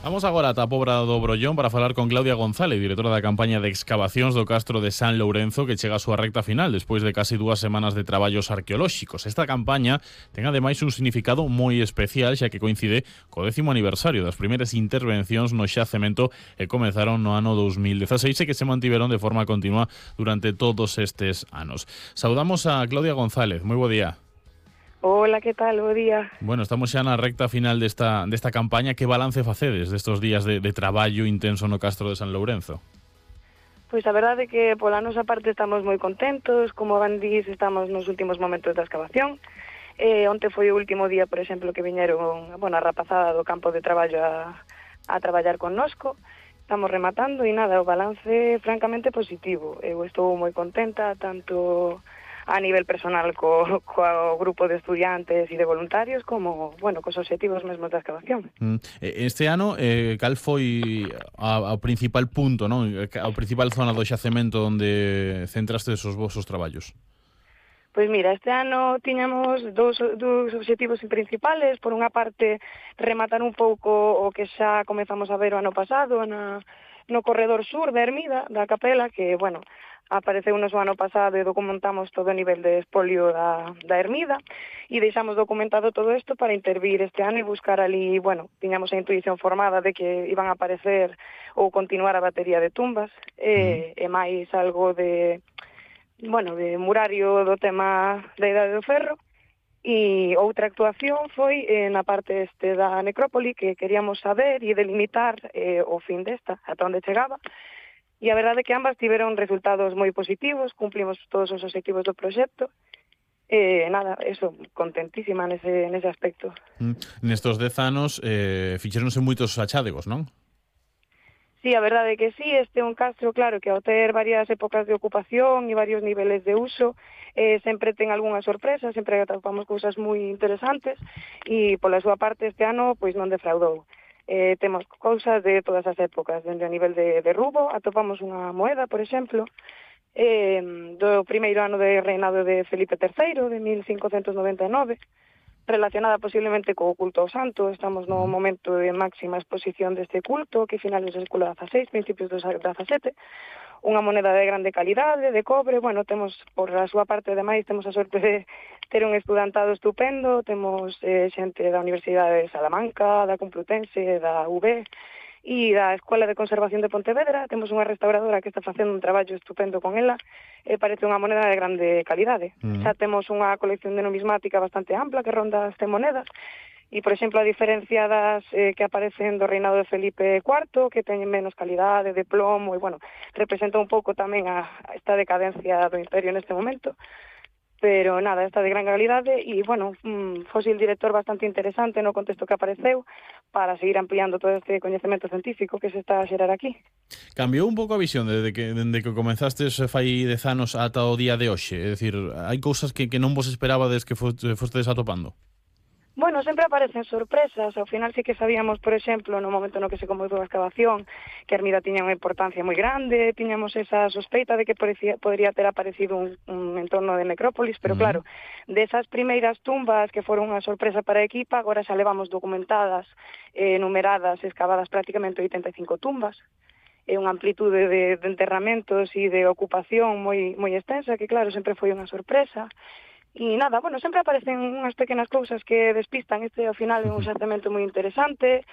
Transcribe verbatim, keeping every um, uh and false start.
Vamos agora ata a Pobra do Brollón para falar con Claudia González, directora da campaña de excavacións do Castro de San Lourenzo, que chega a súa recta final despois de casi dúas semanas de traballos arqueolóxicos. Esta campaña ten ademais un significado moi especial, xa que coincide co décimo aniversario das primeiras intervencións no xacemento que comezaron no ano dous mil dezaseis e que se mantiveron de forma continua durante todos estes anos. Saudamos a Claudia González. Moi bo día. Hola, que tal? Bo día. Bueno, estamos xa na recta final desta, desta campaña. Que balance facedes destes días de, de traballo intenso no Castro de San Lourenzo? Pois a verdade é que pola nosa parte estamos moi contentos. Como van dís, estamos nos últimos momentos da excavación. Eh, onte foi o último día, por exemplo, que viñeron bueno, a rapazada do campo de traballo a, a traballar connosco. Estamos rematando e nada, o balance francamente positivo. Eu estou moi contenta, tanto a nivel personal co, co grupo de estudiantes e de voluntarios como, bueno, cos obxectivos mesmos da excavación. Este ano, eh, cal foi a, a principal punto, non? A principal zona do xacemento onde centraste os vosos traballos? Pois mira, este ano tiñamos dous, dous obxectivos principales. Por unha parte, rematar un pouco o que xa comezamos a ver o ano pasado na, no corredor sur da ermida, da capela, que, bueno, apareceu nos o ano pasado e documentamos todo o nivel de espolio da, da ermida e deixamos documentado todo isto para intervir este ano e buscar ali, bueno, tiñamos a intuición formada de que iban a aparecer ou continuar a batería de tumbas e, e máis algo de, bueno, de murario do tema da Idade do Ferro. E outra actuación foi eh, na parte este da necrópoli, que queríamos saber e delimitar eh, o fin desta, ata onde chegaba. E a verdade é que ambas tiveron resultados moi positivos, cumplimos todos os obxectivos do proxecto. E eh, nada, eso, contentísima nese, nese aspecto. Mm. Nestos dez anos eh, fixeronse moitos achádegos, non? Sí, a verdade é que sí, este é un castro, claro, que ao ter varias épocas de ocupación e varios niveles de uso, eh, sempre ten algunha sorpresa, sempre atopamos cousas moi interesantes e pola súa parte este ano pois non defraudou. Eh, temos cousas de todas as épocas, dende a nivel de, de rubo, atopamos unha moeda, por exemplo, eh, do primeiro ano de reinado de Felipe terceiro, de mil cincocentos noventa e nove, relacionada posiblemente co culto ao santo. Estamos no momento de máxima exposición deste culto, que finales do século dezaseis, principios do dezasete, unha moneda de grande calidade, de cobre. Bueno, temos, por a súa parte, ademais, temos a sorte de ter un estudantado estupendo, temos eh, xente da Universidade de Salamanca, da Complutense, da U B e da Escola de Conservación de Pontevedra. Temos unha restauradora que está facendo un traballo estupendo con ela, e parece unha moneda de grande calidade. Uh-huh. Xa temos unha colección de numismática bastante ampla que ronda as cen monedas, e, por exemplo, a diferencia das eh, que aparecen do reinado de Felipe cuarto, que teñen menos calidade, de plomo, e, bueno, representa un pouco tamén a, a esta decadencia do imperio neste momento. Pero nada, esta de gran calidade e, bueno, un fósil director bastante interesante no contexto que apareceu para seguir ampliando todo este coñecemento científico que se está a xerar aquí. Cambiou un pouco a visión desde que, desde que comenzastes fai dez anos ata o día de hoxe? É dicir, hai cousas que, que non vos esperabades que fostedes atopando? Bueno, sempre aparecen sorpresas. Ao final sí que sabíamos, por exemplo, no momento no que se comezou a excavación, que a ermida tiña unha importancia moi grande, tiñamos esa sospeita de que parecía, podría ter aparecido un, un entorno de necrópolis, pero uh-huh. claro, desas primeiras tumbas que foron unha sorpresa para a equipa, agora xa levamos documentadas, eh, numeradas, excavadas prácticamente oitenta e cinco tumbas, e unha amplitude de, de enterramentos e de ocupación moi, moi extensa, que claro, sempre foi unha sorpresa. E nada, bueno, sempre aparecen unhas pequenas cousas que despistan. Este ao final é un xacemento moi interesante,